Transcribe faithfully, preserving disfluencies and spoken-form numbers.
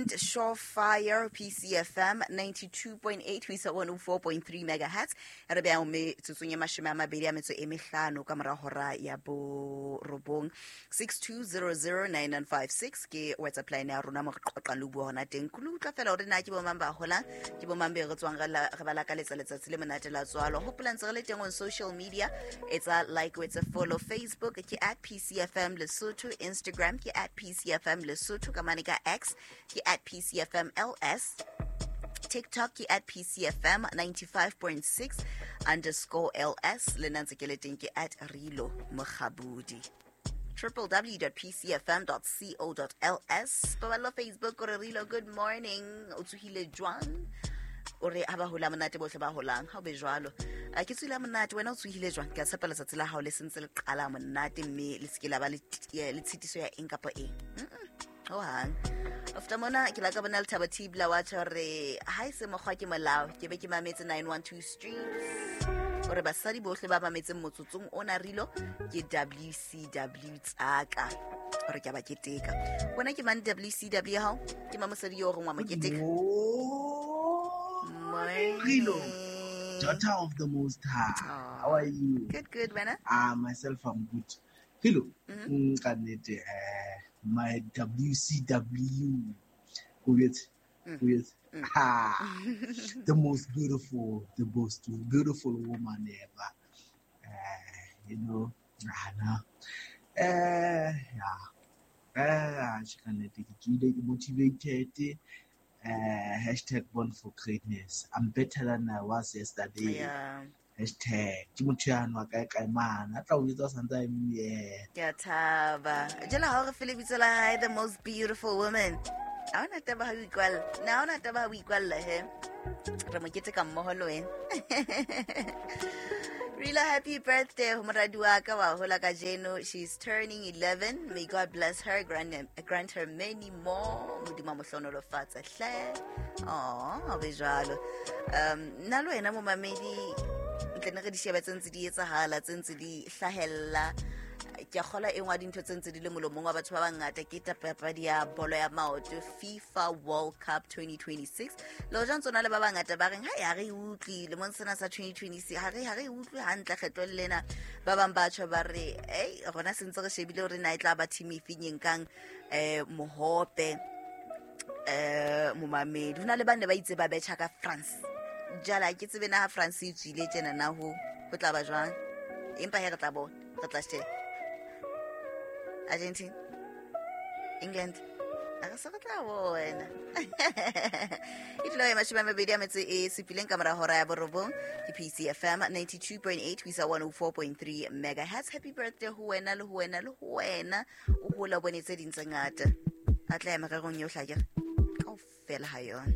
Shorefire P C F M ninety-two point eight ho isa one oh four point three megahertz. Re beha metsotsong e mashome a mabedi a metso e mehlano ka mora hora ya borobong. six two zero zero nine nine five six ke WhatsApp line ya rona mo re qoqang le bua hona teng. Ke utlwa fela hore na ke bo mang ba holang, ke bo mang be re tswang re ba lakaletsa letsatsi le monate la tswalo. Hopola ntse re le teng on social media, etsa like, etsa follow. Facebook ke at P C F M Lesotho, Instagram ke at P C F M Lesotho, ka mane ka X ke at P C F M L S, TikTok ke at P C F M ninety-five point six underscore L S, le nna ntse ke le teng ke at Rilo Mokgabudi. w w w dot p c f m dot co dot l s. Paballo Facebook o re Rilo, good morning, o tsohile jwang? O re ha ba hola monate bohle ba holang, ha o be jwalo. A ke tsohile monate, wena o tsohile jwang? Ke a tshepa letsatsi la hao le sentse le qala monate mme le se ke la ba le tshitiso ya eng kapa eng. Ho hang. After mona ke la ka bona Lethabo Thibla wa tjho re ha e se mokgwa ke molao, ke be ke mametse nine one two Streets. O re basadi bohle ba mametseng motsotsong ona Rilo ke W C W tsaka. O re ke ba keteka. Wena ke mang W C W hao? Ke mang mosadi yo reng wa mo keteka? Rilo, daughter of the Most High. Aww. How are you? Good, good, wena? Ah, myself, I'm good. Rilo, mm -hmm. uh, my W C W, with, with, mm. ah, the most beautiful, the most beautiful woman ever. Uh, you know, ah, uh, yeah, uh, she can take motivated. Uh, hashtag born for greatness. I'm better than I was yesterday. Yeah. Hashtag ke motho ya nwa kae kae man. A tla o jwetsa santse a eme. Ke a thaba. Jela ha re fele bitso la hae, the most beautiful woman. Ha ona taba ha o ikwalla. Na ha ona taba ha o ikwalla he. Re mo keteka mmoho le wena. Rilo, happy birthday ho moradi wa ka wa hola kajeno. She's turning eleven. May God bless her, grant, grant her many more. Modimo a mo hlohonolofatse hle. Oh, be jwalo. Um, nna le wena momamedi, ntle ne re di shebe tse ntse di etsahala, tse ntse di hlahella. Ke a kgolwa e nngwe ya dintho tse ntse di le molomong wa batho ba bangata ke papadi ya bolo ya maoto, FIFA World Cup twenty twenty-six. Le hoja ntse na le ba bangata ba reng ha ya re utlwi lemong sena sa twenty twenty-six, ha re ha re utlwi hantle kgetlo lena. Ba bang ba tjho ba re ei rona se ntse re shebile hore na e tla ba team efe nkang eh mohope eh momamedi. Hona le ba ne ba itse ba betjha ka France. Jala ke tsebe na ha France e tswile tjena na ho ho tla ba jwang, empa he re tla bona, re tla sheba. Argentina, England, a re se re tla bona. E dula e mashome a mabedi a metso e supileng ka mora hora ya borobong ke P C F M ninety-two point eight ho isa one oh four point three megahertz. Happy birthday ho wena le ho wena le ho wena. O hola o bone tse ding tse ngata. A tla ya mererong yohle akere kaofela ha yona.